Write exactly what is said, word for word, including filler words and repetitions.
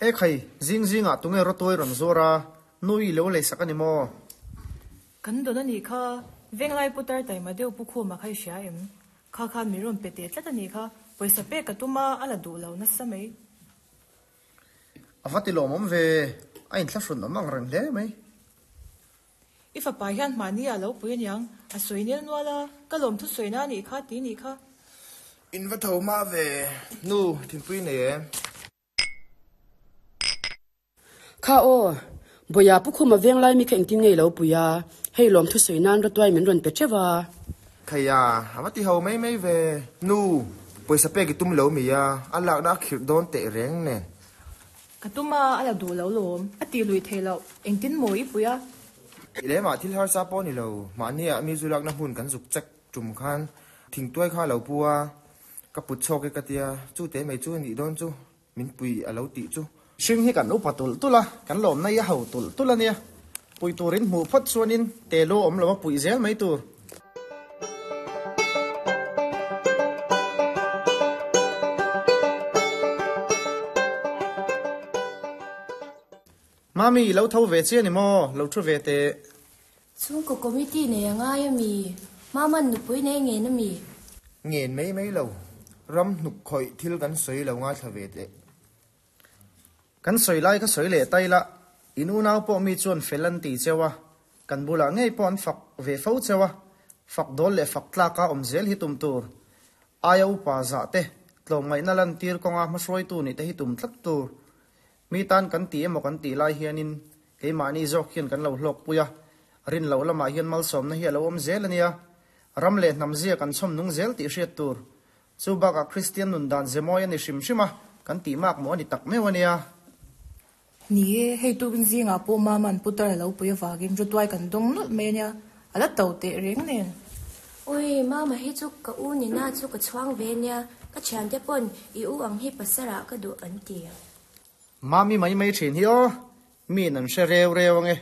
E khai zing zingah tunge rawtuai rawn zuar a, nui lo lei sak a ni maw? Kan dawn a nih kha, Venglai putar taima deuh pu khuma kha i hria em? Kha khan mi rawn pe teh tlat a nih kha, pawisa pek ka tum a, a la duh lo nasa mai. A va ti lawmawm ve, a inthlahrun awm ang reng hle mai. I fapa hian mahni a lo pui aniang, a sawi nel nual a, ka lawm thu sawina a nih kha ti nih kha. In va tho mah ve, nu thinpui nei em? Kha aw, Bawia pu khuma venglai mi kha engtin ngei lo pui a, hei lawm thu sawi nan rawtuai min rawn pe teuh a. Khaia, a va ti ho mai mai ve, nu pawisa pek i tum lo mi a, a lakna a khirh dawn teh reng nen. Ka tum a, a la duh lo lawm, a tih lui thei loh, engtin maw i pui a? I lemah thil harsa pawh ni lo, mahniah mi zu lakna hmun kan zuk chek tum khan thingtuai kha a lo pu a, ka put chhawk e ka tia, chu te mai chu a nih dawn chu, min pui a lo tih chu. Hring hi kan upa tulh tulh a, kan lawmna hi a ho tulh tulh a nia. Pui turin hmuh phawt chuanin te lu awm lo a puih zel mai tur. Mami, i lo tho ve chiah ni maw? Lo thu ve teh. Chhungkaw committee nei a ngai a mi? Maman nupui nei ngen a mi? Ngen mai mai lo. Ram hnuk khawih thil kan sawi lo ngaithla ve teh. Kan sawi lai kha sawi leh tai la, in unau pawh mi chuan fel an ti cheu a, kan bulah ngei pawh an fak ve fo cheu a, fak dawl leh fak tlaka awm zel hi tum tur. Aia upa zah te, tlawmngaihna lantir kawnga hmahruaitu nih te hi tum tlat tur. Mi tan kan ti emaw kan tih lai hianin keimahni zawk hian kan lo hlawkpui a, rin loh lamah hian malsawmna hi a lo awm zel a nia. Ram leh hnam zia kan chhawm nung zel tih hriat tur. Chu bakah Kristian nun dan ze mawi a ni hrim hrim a, kan tih mak maw a ni tak meuh a nia. Ni e, hei tukin zingah pawh Maman putar a lo pui avangin rawtuai kan dawng nawlh mai a nia, a la to teh reng nen. Ui, Mama hi chu ka u nina chu ka chhuang ve nia, ka thiante pawn i u ang hi pasarah ka duh an ti. Mami mai mai thin hi aw, miin an hre reu reu ange.